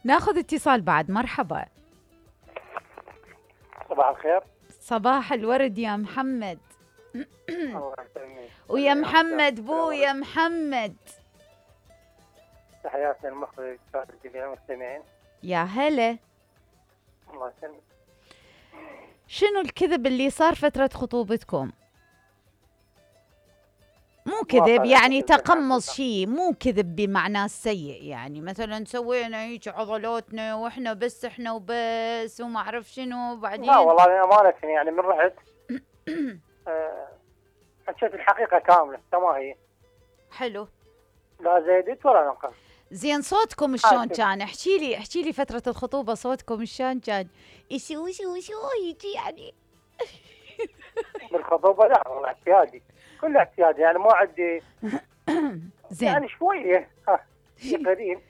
ناخذ اتصال بعد. مرحبا. صباح الخير. صباح الورد يا محمد. الله يسلمك. ويا محمد بو يا محمد. تحياتنا المخرج جميع المستمعين. يا هلا. الله يسلمك. شنو الكذب اللي صار فترة خطوبتكم؟ مو كذب يعني تقمص شيء، مو كذب بمعنى السيء، يعني مثلا سوينا هيك عضلاتنا واحنا بس احنا وبس وما اعرف شنو بعدين. لا والله أمانة يعني من رحت حكيت الحقيقة كاملة كما هي. حلو. لا زيدت ولا نقص. زين صوتكم شلون كان؟ احكي لي فترة الخطوبة صوتكم شلون كان؟ شو هيك يعني؟ بالخطوبة لا والله اعتيادي، كله اعتيادي يعني ما عندي. زين يعني شوية شيء قليل.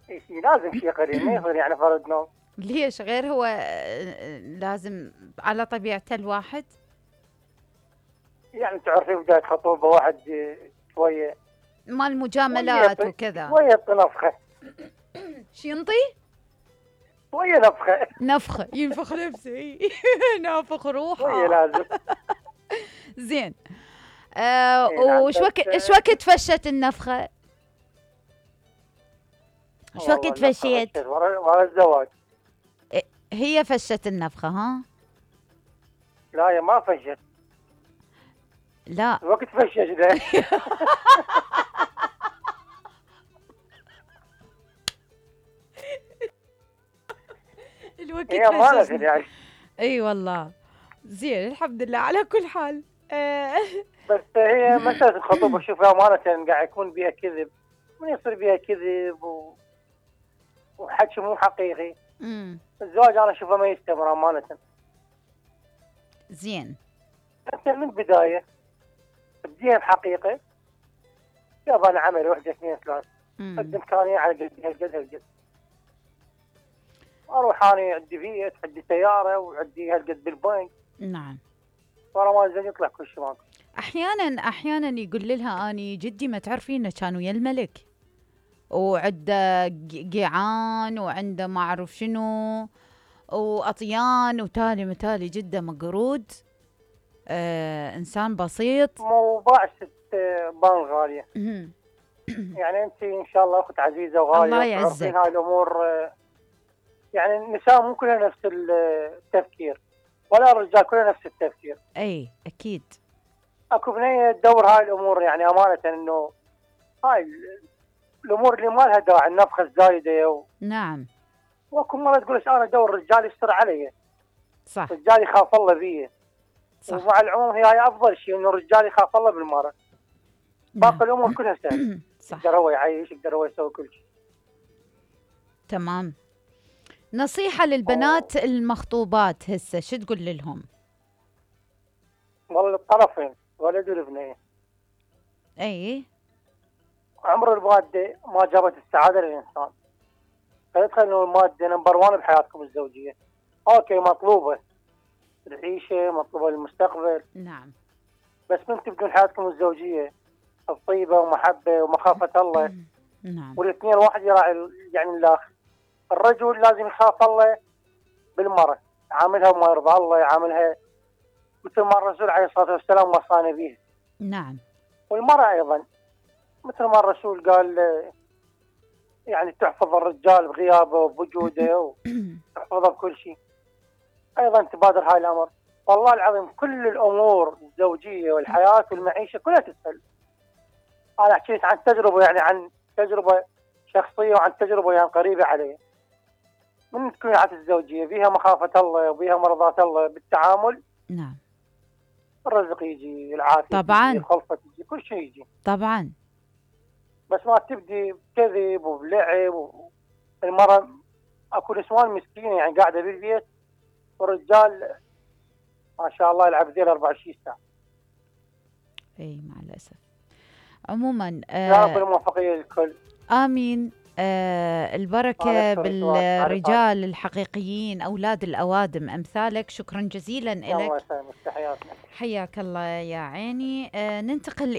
شيء لازم شيء قليل، ما يصير يعني فرد نوم. ليش غير هو لازم على طبيعة الواحد؟ يعني تعرفي بداية خطوبة واحد شوية مال مجاملات وكذا، شوية نفخة. شو ينطي؟ شوية نفخة ينفخ نفسه. نافخ روحه شوية لازم. زين وش وقت فشت النفخة؟ شو وقت فشيت؟ ورا الزواج. هي فشت النفخة ها؟ لا هي ما فشت. لا وقت فشت ده. الوقت هي ما يعني. اي والله. زين الحمد لله على كل حال. بس هي مسألة الخطوبة شوف أمانة قاعد يكون بيها كذب، من يصير بيها كذب وحكي مو حقيقي. الزواج أنا أشوفه ما يستمر أمانة. زين أنت من البداية بديها بحقيقة. يابا أنا عمل 1 2 3 قد إمكانية على قد أروح أنا عندي بيت عندي سيارة وعندي هالقد بالبنك. نعم. ورا ما زين يطلع كل شيء ماكو. أحيانا يقول لها أني جدي ما تعرفين كان ويا الملك وعنده قيعان وعنده ما أعرف شنو وأطيان وتالي متالي جدا مقرود. إنسان بسيط. مو بعشت بان غالية. يعني أنت إن شاء الله أخت عزيزة وغالية. الله يعزك. هاي الأمور يعني النساء مو كلها نفس التفكير ولا الرجال كلها نفس التفكير. أي أكيد. أكو بنية تدور هاي الأمور يعني أمانة إنه هاي الأمور اللي ما لها داعي النفخة الزايدة نعم. واكو مرة تقول انا ادور رجال يستر علي. صح. رجال يخاف الله بيه. صح. ومع العموم هي افضل شيء انه الرجال يخاف الله بالمرأة. باقي الامور كلها سهله. صح. يقدر هو يعيش، يقدر هو يسوي كل شيء. تمام. نصيحة للبنات المخطوبات هسه شو تقول لهم؟ والله الطرفين ولد والبنية. اي. عمر المادة ما جابت السعادة للإنسان. فيدخل انه المادة نمبر 1 بحياتكم الزوجية. اوكي مطلوبة العيشة، مطلوبة للمستقبل. نعم. بس من تبدون حياتكم الزوجية الطيبة ومحبة ومخافة الله. نعم. والاثنين واحد يراعي يعني الآخر. الرجل لازم يخاف الله بالمرأة، يعاملها وما يرضى الله، يعاملها مثل ما الرسول عليه الصلاة والسلام وصانا به. نعم. والمرأة أيضا مثل ما الرسول قال يعني تحفظ الرجال بغيابه وبوجوده وتحفظه بكل شيء. أيضا تبادر هاي الأمر. والله العظيم كل الأمور الزوجية والحياة والمعيشة كلها تسهل. أنا حكيت عن تجربة، يعني عن تجربة شخصية وعن تجربة يعني قريبة علي. من تكون حياة الزوجية بيها مخافة الله وبيها مرضاة الله بالتعامل. نعم. الرزق يجي، العافية طبعا تجي، الخلفة تجي، كل شيء يجي. طبعا. بس ما تبدي بكذب وبلعب المرأة اكو نسوان مسكينة يعني قاعدة بالبيت والرجال ما شاء الله يلعب ذيل 24 ساعة. اي مع الأسف. عموما يا رب الموفقية للكل. آمين. البركة بالرجال الحقيقيين أولاد الأوادم أمثالك. شكرا جزيلا لك. الله يسلمك. تحياتنا. حياك الله يا عيني. ننتقل